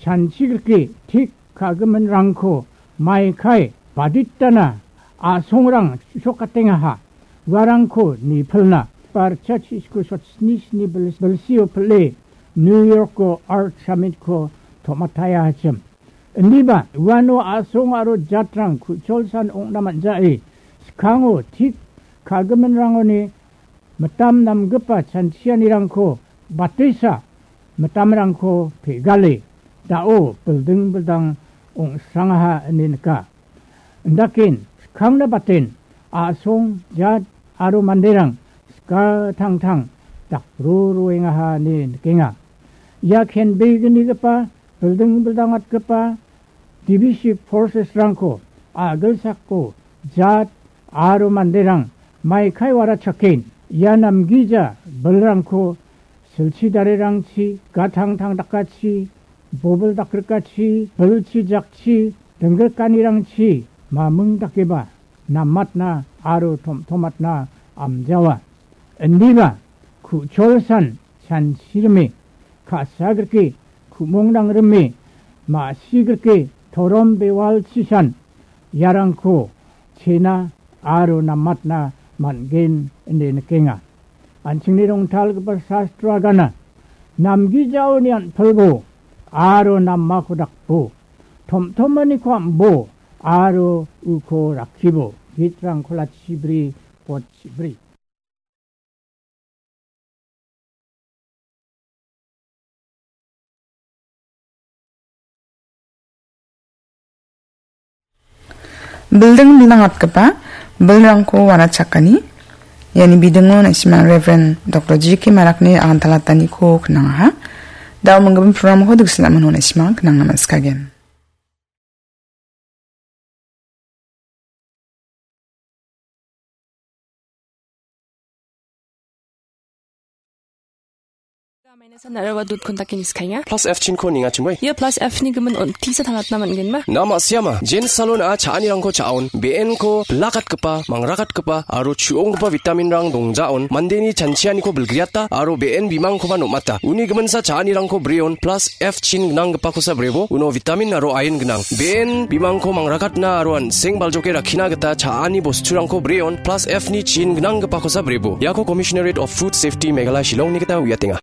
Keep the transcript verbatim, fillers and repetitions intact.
chanchigrike tik ka·giminrangko maikai baditana a·songrang su·sokatengaha. Uarangko nipilna barcha chisku sotni sni bil-, bilsio pile New Yorko Earth Summitko tom·ataiahachim. Indiba uano a·song aro jatrang ku·cholsan ong·na man·jae, skango tik ka·giminrangoni mitam namgipa chanchianirangko batesa mitamrangko pegale da·o bilding bildang ong·srangaha ine nika. Indaken skangna baten a·song jat aro manderang skatangtang dakro roengaha ine nikenga. Ia kenbegnigipa bilding bildangatgipa divisive forces-rangko a·gilsako jat aro manderang maikai warachaken ia namgija bilrangko silchi darirangchi, gatangtang dakachi, bobil dakrikachi, bilchi jakchi, dinggikanirangchi maming dakeba namatna aro tom·tomatna amjawa. Indiba ku·cholsan chanchirime, ka·sagrike ku·mongdangrime, ma·sigrike torom bewalchisan iarangko chena aro namatna man·gen ine nikenga. An·chingni rongtalgipa sastro agana, namgijaoni an·pilbo aro namako dakbo, tom·tomaniko am·bo aro uko rakkibo. Gitrang kola chibri, pot chibri. Bilding bilangatgipa bilrangko wanachakani, iani bidingo na·simang Reverend Doktor G K Marakni agantalataniko knangaha. Da·o minggimin programko diksinamino na·simang knangna man·sikagen. Plus F chinko nengachimoi. Ia plus F ni gimin on tisa tangatna man·genba? Na ma·siama. Jen salon a cha·anirangko cha·on. Be·enko bilakatgipa, mangrakatgipa aro chu·onggipa vitaminrang dongjaon. Mandeni chanchianiko bilgriata aro be·en bimangkoba nom·ata. Uni giminsa cha·anirangko breon. Plus F chin gnanggipakosa brebo, uno vitamin aro iron gnang. Be·en bimangko mangrakatna aro an·seng baljoke rakkina gita cha·ani bosturangko breon, plus F ni chin gnanggipakosa brebo. Iako Commissionerate of Food Safety Meghalaya Shillongni gita uiatenga.